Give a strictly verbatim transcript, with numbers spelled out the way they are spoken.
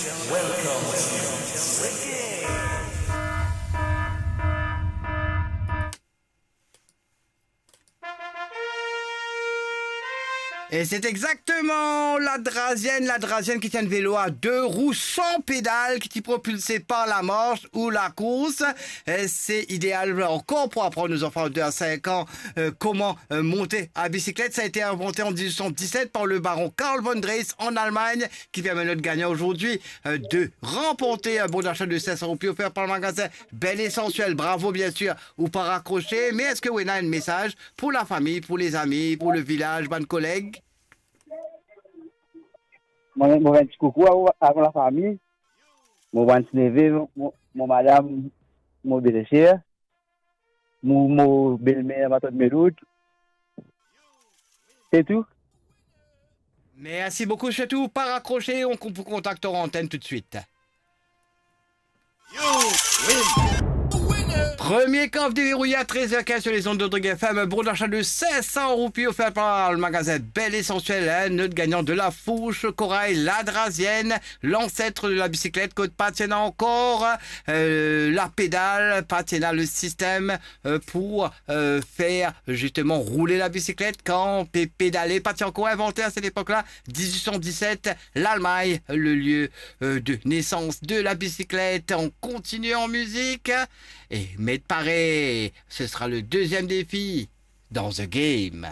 Welcome to Reggae. E se exakteman la Drazienne, la Drazienne ki ti enn velo a de rou san pedal ki ti propilse par lamars ou lakours. E se ideal ankor pou aprann nou zanfan de a sink an, e, koman, e, monte a bisiklet. Sa a ete invante an diz-wit san diz-set par le baron Karl von Drais an Almagn, ki permet nou de gagn azordi, e, de ranporte, e, bon dasa de sink san roupi ofer par le magazin Bel Essentiel. Bravo, bien sir, ou pa rakrose, me eski ou ena enn mesaz pou lafami, pou lezami, pou le vilaz, bann koleg? Mo, mo enn ti koukou a, a mo lafami, mo bann ti neve, mo, mo madam, mo belser, mo, mo belmer, matant Meloud. Se tou. Mersi boukou, sirtou pa rakrose, on pou kontakte ar antenn toutswit. Premie kan derouye a trez er kinz sur les ondes de Reggae F M, bon dasa de sink san roupi ofer par le magazin Bel Essentiel, hein, not gagnan de la fourche corail, la Drazienne, l'ancêtre de la bicyclette, kot pa ti ena ankor, euh, la pédale, pa ti ena le système, euh, pour, euh, faire justement rouler la bicyclette kan pe pedale, pa ti ankor invante à cette époque-là, dix-huit cent dix-sept, l'Allemagne, le lieu, euh, de naissance de la bicyclette. On continue en musique. Et met paré, ce sera le deuxième défi dans The Game.